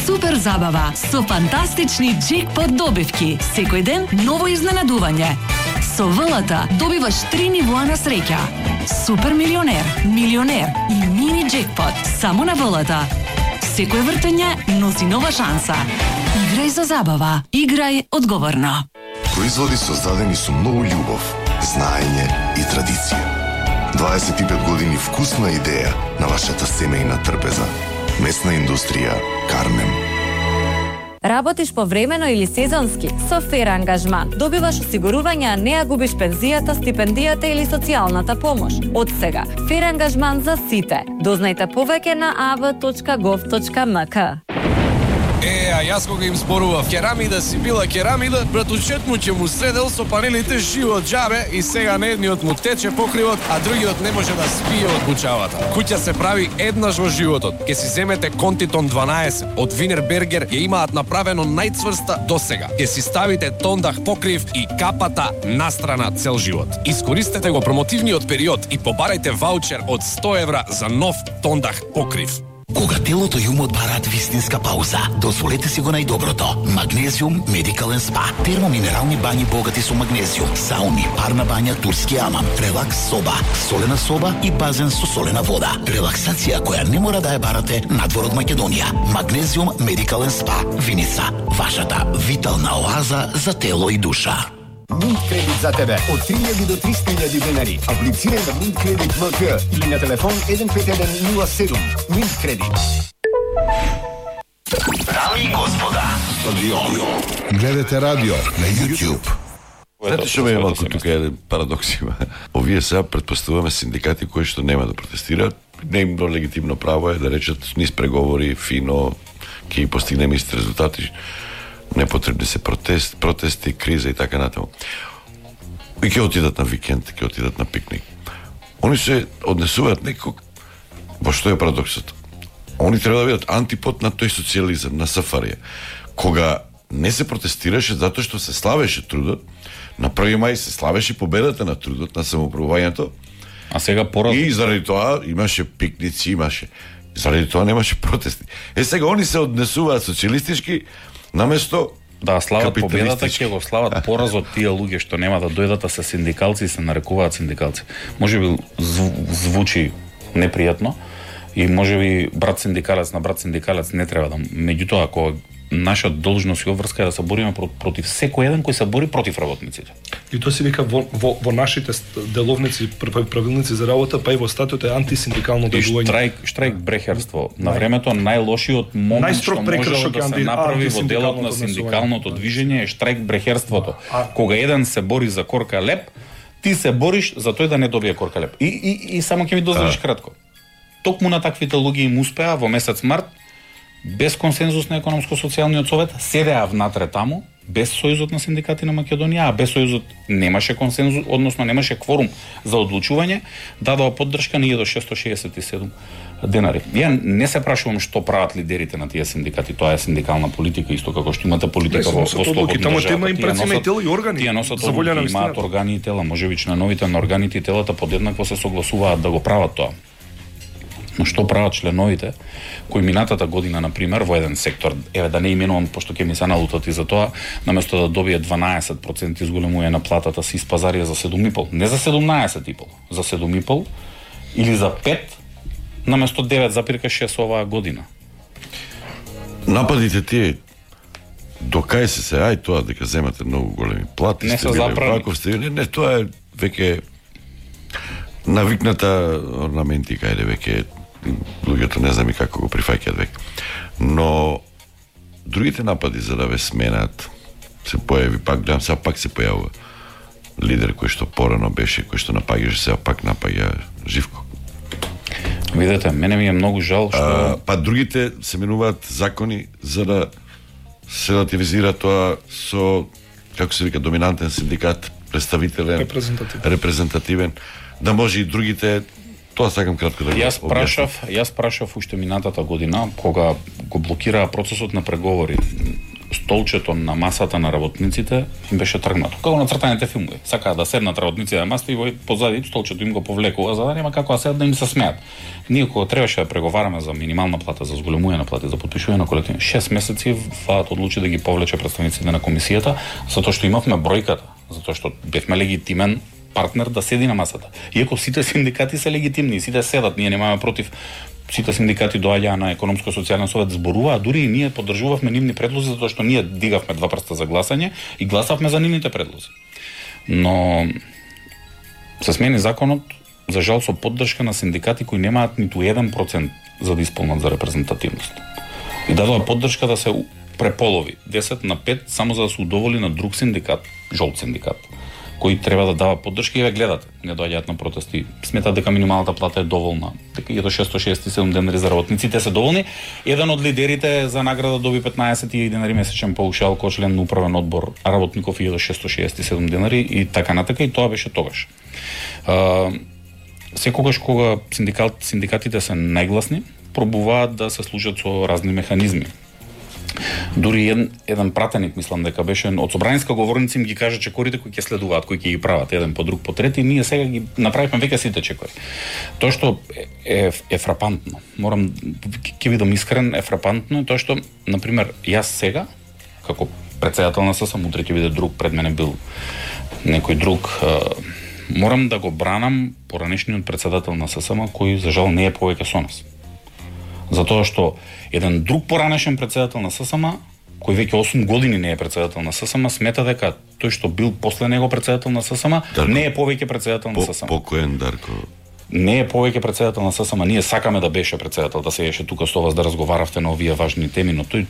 супер забава со фантастични джекпот добивки. Секој ден ново изненадување. Со ВЛТ добиваш 3 нивоа на среќа. Супер милионер, милионер и мини джекпот само на ВЛТ. Секој вртење носи нова шанса. Играј за забава. Играј одговорно. Производи создадени со многу љубов, знаење и традиција. 25 години вкусна идеја на вашата семејна трпеза. Месна индустрија Кармен. Работиш повремено или сезонски? Со Фер ангажман добиваш осигурување, а не ја губиш пензијата, стипендијата или социјалната помош. Од сега, Фер ангажман за сите. Дознајте повеќе на av.gov.mk. А јас кога им зборував керамида си била керамида, братучет му ќе му средел со панелите живот џабе и сега на едниот му тече покривот, а другиот не може да спие од бучавата. Куќа се прави еднаш во животот. Ке си земете Контитон 12 од Винербергер, ја имаат направено најцврста досега. Ке си ставите тондах покрив и капата настрана цел живот. Искористете го промотивниот период и побарајте ваучер од 100 евра за нов тондах покрив. Кога телото и умот бараат вистинска пауза, дозволете си го најдоброто. Магнезиум Медикален спа. Термоминерални бањи богати со магнезиум, сауни, парна бања, турски амам, релакс соба и базен со солена вода. Релаксација која не мора да ја барате надвор од Македонија. Магнезиум Медикален спа. Виница, вашата витална оаза за тело и душа. Mint кредит за тебе од 3000 до 300.000 денари. Аплицирај на Mint кредит МК или на телефон 15107. Mint кредит. Дами и господа, гледате радио на YouTube. Знаете што ме е малку тука еден парадокс има. Овие сега претпоставуваме синдикати кои што нема да протестираат. Неимно легитимно право е да речат низ преговори, фино, ќе постигнеме исти резултати. Непотребни се протести, криза и така натаму. И ќе отидат на викенд, ќе отидат на пикник. Они се однесуваат некако, во што е парадоксот. Они треба да бидат антипод на тој социјализам, на сафарија. Кога не се протестираше затоа што се славеше трудот, на 1 мај се славеше победата на трудот, на самоуправувањето. А сега поразно. И заради тоа имаше пикници, заради тоа немаше протести. Сега они се однесуваат социјалистички наместо да слават победата, ќе го слават поразот тие луѓе што нема да дојдат, а се синдикалци и се нарекуваат синдикалци. Можеби звучи непријатно и можеби брат синдикалец на брат синдикалец не треба да. Меѓутоа, ако наша должност и обврска е да се бориме против секој еден кој се бори против работниците. И тоа се вика во нашите деловници, правилници за работа, па и во статут е антисиндикално делување. Штрайк брехерство. На времето најлошиот момент што може да се направи во делот на синдикалното движење е штрайк брехерството. Кога еден се бори за корка леп, ти се бориш за тој да не добие корка леп. И само ќе ми дозволиш кратко. Токму на таквите луѓе им успеа во месец март, без консензус на економско-социјалниот совет, седеа внатре таму, без Сојузот на синдикати на Македонија, а без Сојузот немаше консензус, односно немаше кворум за одлучување, дадоа поддршка на 1667 денари. Ја не се прашувам што прават лидерите на тие синдикати, тоа е синдикална политика, исто како што имате политика во слободна држава. Тие носат одлуки, имаат органи и тела, можеби членовите на органите и телата подеднакво се согласуваат да го прават тоа. Но што прават членовите кои минатата година, например, во еден сектор, еве да не именувам, пошто ќе ми се налутат и за тоа, наместо да добие 12% изголемување на платата си испазарија за 7,5, не за 17,5, за 7,5 или за 5, наместо 9,6 оваа година. Нападите тие до кај се ај тоа дека земате многу големи плати, не се забрани. Не, тоа е веќе навикната орнаментика, веќе луѓето не знам и како го прифаќаат веќе. Но другите напади за да ве сменат се појави пак, гледам сега пак се појавува лидер кој што порано беше, кој што напаѓаше, сега пак напаѓа Живко. Видете, мене ми е многу жал што па другите се менуваат закони за да се релативизира тоа со, како се вика, доминантен синдикат, представителен, репрезентативен, да може и другите. Тоа сакам кратко да го Јас прашав уште минатата година, кога го блокираа процесот на преговори столчето на масата на работниците им беше тргнато. Како на цртаните филмови. Сакаа да седнат работниците на масата и во позади столчето им го повлекува за да нема како да седат да им се смеат. Ние кога требаше да преговараме за минимална плата, за зголемување на плати, за потпишување на колективни, 6 месеци владата одлучи да ги повлече представниците на комисијата, затоа што имавме бројката, затоа што бевме легитимен партнер да седи на масата. Иако сите синдикати се легитимни, сите седат, ние немаме против. Сите синдикати доаѓаа на економско-социјален совет, зборуваа, дури и ние поддржувавме нивни предлози затоа што ние дигавме 2 прста за гласање и гласавме за нивните предлози. Но се смени законот, за жал со поддршка на синдикати кои немаат ниту 1% за да исполнат за репрезентативност. И дадоа поддршка да се преполови 10 на 5 само за да се удоволи на друг синдикат, жолт синдикат, кои треба да дава поддршка и ве гледате, не доаѓаат на протести, сметаат дека минималната плата е доволна, дека и до 667 денари за работниците се доволни. Еден од лидерите за награда доби 15 денари месечен паушал кој член на управен одбор, а работников и до 667 денари и така натака, и тоа беше тогаш. Секогаш кога синдикатите се најгласни, пробуваат да се служат со разни механизми. Дури еден пратеник, мислам дека беше од собраниска говорница, им ги кажа чекорите кои ќе следуваат, кои ќе ги прават еден по друг по трети, ние сега ги направивме веќе сите чекори. Тоа што е фрапантно. Морам ќе бидам искрен, е фрапантно тоа што, на пример, јас сега како претседател на ССМ, утре ќе биде друг, пред мене бил некој друг, морам да го бранам поранешниот претседател на ССМ кој за жал не е повеќе со нас. Затоа што еден друг поранешен претседател на ССМ, кој веќе 8 години не е претседател на ССМ, смета дека тој што бил после него претседател на ССМ, не е повеќе претседател на ССМ. Покоен Дарко. Не е повеќе претседател на ССМ. Ние сакаме да беше претседател, да седеше тука со вас да разговаравте на овие важни теми, но тој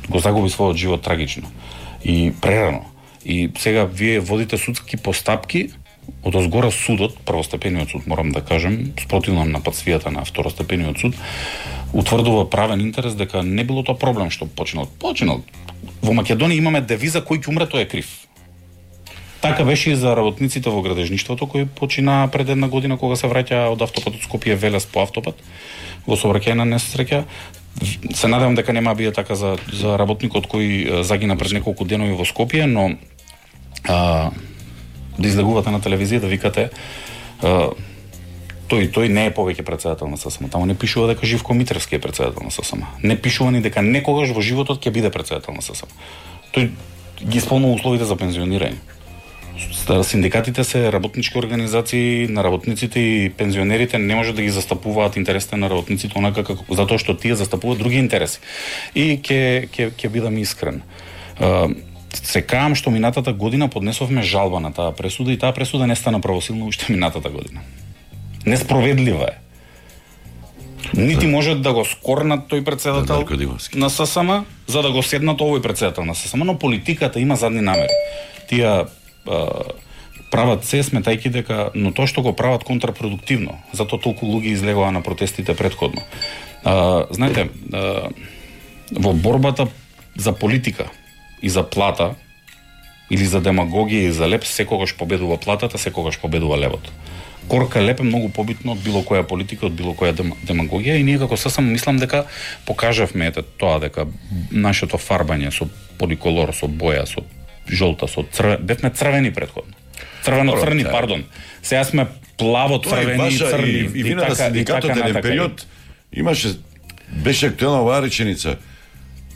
го загуби својот живот трагично и прерано. И сега вие водите судски постапки, од озгора судот, првостепениот суд, морам да кажем, спротивно на патсвијата на второстепениот суд, утврдува правен интерес дека не било тоа проблем што починал. Во Македонија имаме девиза кој ќе умре тој е крив. Така беше и за работниците во градежништвото кои почина пред една година кога се враќа од автопатот Скопје Велес по автопат во сообраќајна несреќа. Се надевам дека нема биде така за работникот кој загина пред неколку денови во Скопје, но да излегувате на телевизија да викате тој не е повеќе претседател на ССМ. Таму не пишува дека Живко Митревски е претседател на ССМ. Не пишува ни дека некогаш во животот ќе биде претседател на ССМ. Тој ги исполнува условите за пензионирање. Синдикатите се работнички организации на работниците и пензионерите, не може да ги застапуваат интересите на работниците онака како затоа што тие застапуваат други интереси. И ќе бидам искрен. Се каам што минатата година поднесовме жалба на таа пресуда и таа пресуда не стана правосилна уште минатата година. Несправедлива е. Нити можат да го скорнат тој претседател на ССМ за да го седнат овој претседател на ССМ, но политиката има задни намери. Тие прават се сметајќи дека, но тоа што го прават контрапродуктивно, затоа толку луѓе излегоа на протестите претходно. Знаете, во борбата за политика и за плата, или за демагогија и за леп, секогаш победува платата, секогаш победува левот. Корка леп е многу побитно од било која политика, од било која демагогија и ние како ССМ мислам дека покажавме тоа дека нашето фарбање со поликолор, со боја, со жолта, со црвен, бевме црвени претходно. Црвено-црни, пардон. Сега сме плаво-црвени и црни. И вина на синдикатот еден период беше актуелна оваа реченица.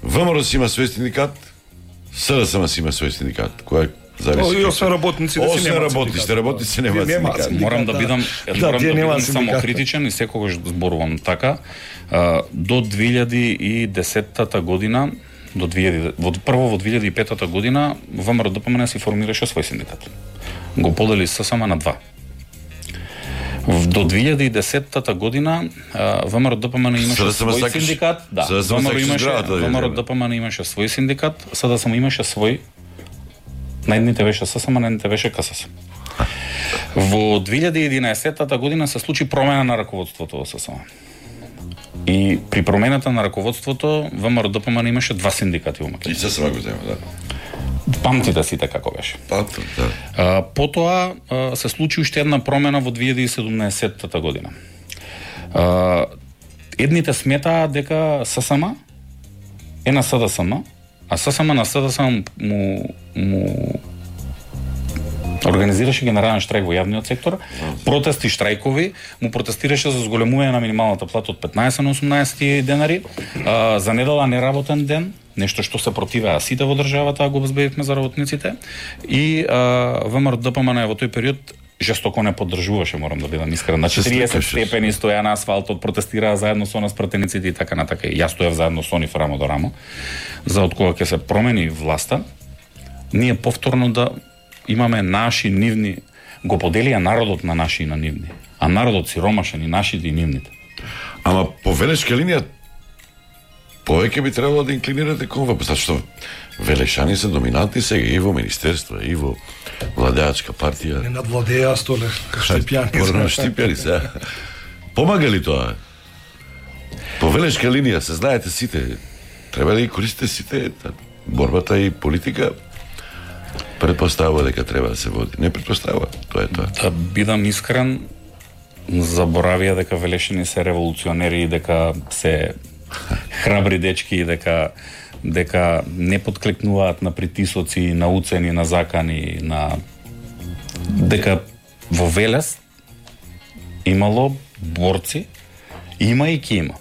ВМРО си има свој синдикат, СДСМ си има свој синдикат, кој зависи. И освен работниците си немаат синдикат. Работниците немаат синдикат. Морам да бидам самокритичен и секогаш зборувам така. До 2010 година, прво во 2005 година, ВМРО ДПМН си формираше свој синдикат. Го подели ССМ на 2. До 2010 година ВМРО ДПМН имаше свој синдикат. Да, ВМРО ДПМН имаше свој синдикат, СДСМ имаше свој. На едните беше ССМ, на едните беше КСС. Во 2011 година се случи промена на раководството во ССМ. И при промената на раководството ВМРО ДПМН имаше 2 синдикати во Македонија. И ССМ го зема, да. Памтите сите како беше. Да. Потоа се случи уште една промена во 2017 година. Едните сметаа дека ССМ е на СДСМ, а ССМНС му организираше генерален штрайк во јавниот сектор, протести, штрајкови, му протестираше за зголемување на минималната плата од 15 на 18 денари, за недела неработен ден, нешто што се противеа сите во државата, го обезбедивме за работниците, и ВМРО ДПМН во тој период жестоко не поддржуваше, морам да бидам искрен. На 40 степени стоја на асфалтот, протестираа заедно со нас пратениците и така натака. Јас стоев заедно со нив рамо до рамо, за од кога ќе се промени власта, ние повторно да имаме наши нивни, го поделија народот на наши и на нивни, а народот сиромашен и нашите и нивните. Ама по Велешка линија повеќе би требало да инклинирате кон ова, зашто велешани се доминантни сега и во министерство, и во владеачка партија. Не надвладеа столе, штипјани. Порно штипјани се. Помага ли тоа? По Велешка линија се знаете сите, треба да ги користите сите, борбата и политика предпоставува дека треба да се води. Не предпоставува, тоа е тоа. Да бидам искрен, заборавија дека велешани се револуционери и дека се храбри дечки и дека не подклекнуваат на притисоци, на уцени, на закани, дека во Велес имало борци, има и ќе има.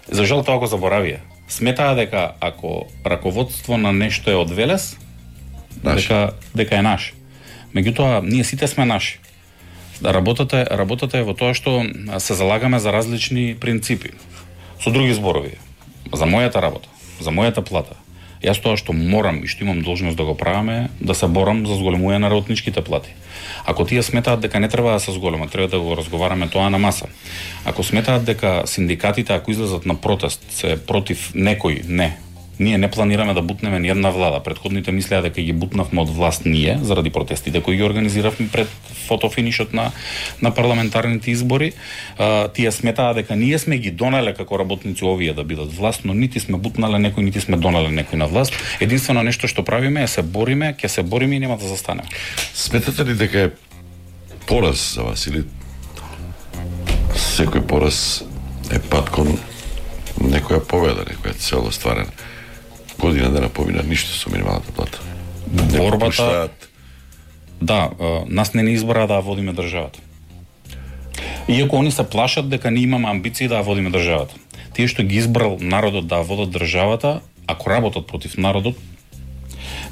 За жал тоа го заборавија. Сметаа дека ако раководство на нешто е од Велес, дека е наш. Меѓутоа, ние сите сме наши. Работата е во тоа што се залагаме за различни принципи. Со други зборови, за мојата работа, за мојата плата, јас тоа што морам и што имам должност да го правам да се борам за зголемување на работничките плати. Ако тие сметаат дека не треба да се зголемат, треба да го разговараме тоа на маса. Ако сметаат дека синдикатите, ако излезат на протест, се против некој, не. Ние не планираме да бутнеме ни една влада. Предходните мислеа дека ги бутнавме од власт ние, заради протестите кои ги организиравме пред фотофинишот на парламентарните избори. Тие сметаа дека ние сме ги донале како работници овие да бидат власт, но нити сме бутнале некој, нити сме донале некој на власт. Единствено нешто што правиме е се бориме, ќе се бориме и нема да застанеме. Сметате ли дека е пораз за вас или секој пораз е пат кон некоја победа, некоја цел остварена? Година дена помина ништо со минималната плата. Борбата... Да, нас не избра да водиме државата. Иако они се плашат дека не имаме амбиции да водиме државата. Тие што ги избрал народот да водат државата, ако работат против народот,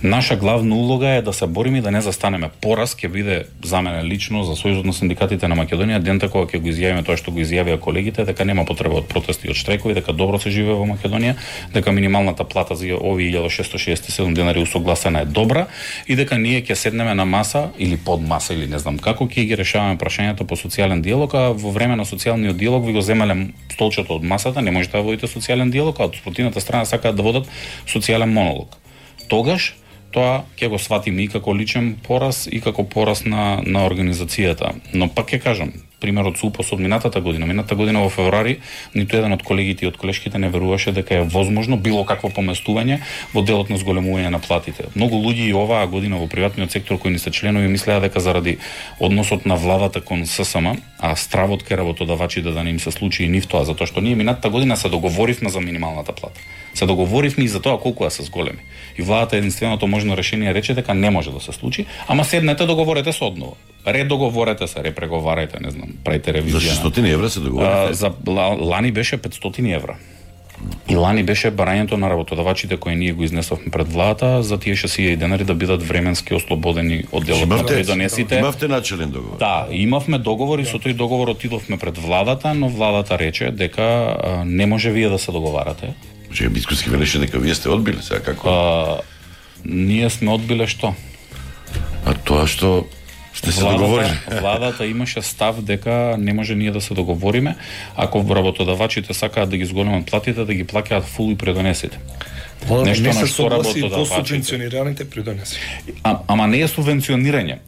наша главна улога е да се бориме и да не застанеме. Пораз ќе биде за мене лично, за Сојузот на синдикатите на Македонија, дента кога ќе го изјавиме тоа што го изјавија колегите, дека нема потреба од протести и од штрајкови, дека добро се живее во Македонија, дека минималната плата за овие 1667 денари усогласена е добра и дека ние ќе седнеме на маса или под маса или не знам како ќе ги решаваме прашањата по социјален диалог, а во време на социјалниот диалог ви го земале столчето од масата, не можете да водите социјален диалог, а од спротивната страна сакаат да водат социјален монолог. Тогаш тоа ќе го сватиме и како личен пораз и како пораз на организацијата. Но пак ќе кажам, примерот со УПОС од минатата година во февруари, ниту еден од колегите и од колешките не веруваше дека е возможно било какво поместување во делот на зголемување на платите. Многу луѓе и оваа година во приватниот сектор кои не се членови мислеа дека заради односот на владата кон ССМ, а стравот ке работодавачите да не им се случи и нив тоа, затоа што ние минатата година се договоривме за минималната плата. Се договоривме и за тоа колку да се зголеми. И владата единственото можно решение рече дека не може да се случи, ама седнете договорете се одново. Редоговорете се, репреговарајте, не знам, правите ревизија. За 600 евра се договорите? За лани беше 500 евра. И лани беше барањето на работодавачите кои ние го изнесовме пред владата за тие 60 денари да бидат временски ослободени од делот на придонесите. Имавте начелен договор? Да, имавме договор и со тој договор отидовме пред владата, но владата рече дека не може вие да се договарате. Бискуски велеше дека вие сте одбиле, сега како? Ние сме одбиле што? А тоа што сте се договорили? Владата имаше став дека не може ние да се договориме ако работодавачите сакаат да ги зголемат платите, да ги плаќаат фул и придонесите. Нешто не се согласи по субвенционираните придонеси. Ама не е субвенционирање.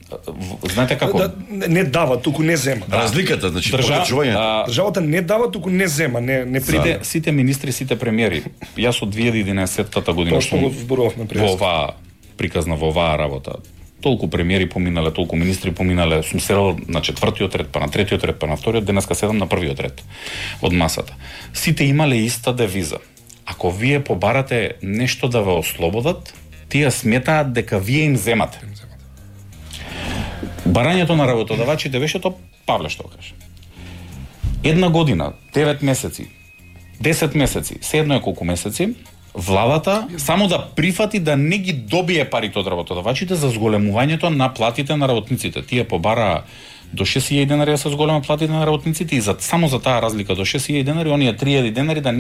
Знаете како? Не дава, туку не зема. Разликата, значи покачувањето. Државата не дава, туку не зема, не приде. Сите министри, сите премиери. Јас од 2011 година што го зборувавме пред. Во оваа приказна, во оваа работа. Толку премиери поминале, толку министри поминале, сум седел на 4-тиот ред, па на 3-тиот ред, па на 2-тиот, денеска седам на 1-тиот ред од масата. Сите имале иста девиза. Ако Ако вие побарате нешто да ве ослободат, тие сметаат дека вие им земате. Барањето на работодавачите беше тоа, Павле што каже. 1 година, 9 месеци, 10 месеци, се едно е колку месеци, владата само да прифати да не ги добие парите од работодавачите за зголемувањето на платите на работниците. Тие побараа до 6.000 денари да се зголема платите на работниците и само за таа разлика до 6.000 денари, оние 3.000 денари да не